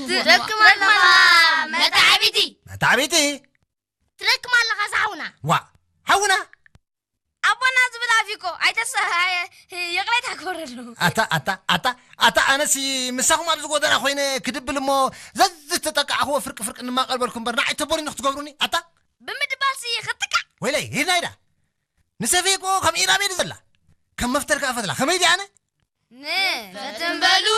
ትደክም ኣለኻ መተዓቢቲ። መተዓቢቲ። ትደክም ኣለኻ ዝሓውና። ዋ፣ ሓውና። ኣቦና ዝብል ኣፊኮ ኣይተሰሃየ። ይቕሬታ ክወረዶ። ኣታ ኣታ ኣታ ኣታ ኣነሲ ምሳኹም ኣብዚ ጎደና ኮይነ ክድብል እሞ ዘዝተጠቃዕኽዎ ፍርቂ ፍርቂ ንማቀልበልኩም በር ንዓይ ተቦሪኑ ክትገብሩኒ ኣታ። ብምድባልሲ ክትጥቃዕ። ወይለይ ሂድና ኢዳ። ንሰፈይኮ ከም ኢራቤድ ዘላ ከም መፍተር ከኣ ፈትላ ከመይ ድያ ኣነ? ንፈትን በሉ።